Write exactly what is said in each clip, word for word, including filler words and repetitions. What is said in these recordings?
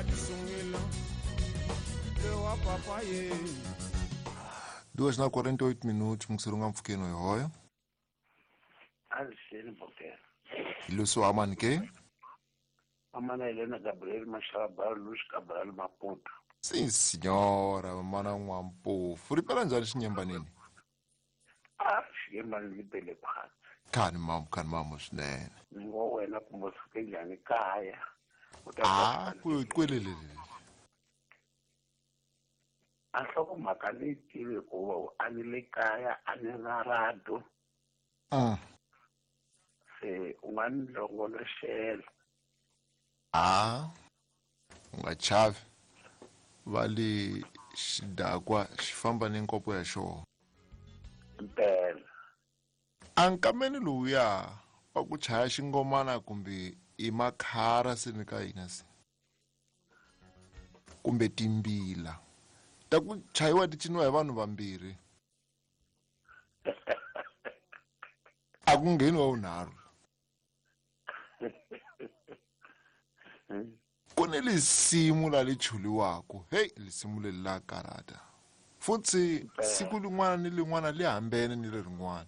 Disungila Lewa papa ye. Duas na quarenta e oito minutos, Muxurunga Mfukeno yoyo. Alexandre Boquer. Iluso amani ke? Amana Helena Gabriel Machalabal Luz Cabral Maputo. Sim, senhora, mana Nwampofu. Ripela njani xinyembanini? Ah, xinyembani li pele phansi. Khani mamu, khani mamu swinene. Ni ngo wena kumbe suke njhani kaya? Ah, ku kwelele. A nhlokomhaka leyi tivi hikuva a ni le kaya a ni na radio. Mm. Se u nga ni longoloxela. Ah, u nga chavi. Va le xidakwa xi famba ni nkopo ya xona. Mpela. A nkameni lowuya wa ku chaya xingomana kumbe i makhara se ni ka hina se. Kumbe timbila. Ta ku chayiwa ti ciniwa hi vanhu vambirhi. A ku ngheni wa vunharhu. Ku ni lisimu la li chuliwaka. Hey, lisimu leri la karata. Futhi siku lin'wana ni lin'wana li hambene ni lerin'wana.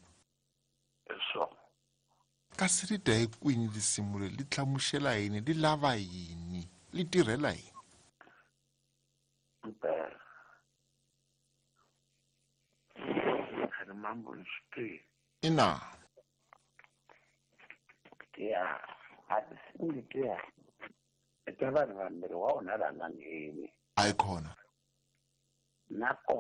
So. Kasi ri dya hi kwini lisimu leri, li hlamusela yini, li lava yini, li tirhela yini? Mpela. Khani mambo ni swi tivi. Ina. Ya, a tinsimu letiya i ta vanhu vambirhi wa wona la nga ngheni. A yi kona. Na kona.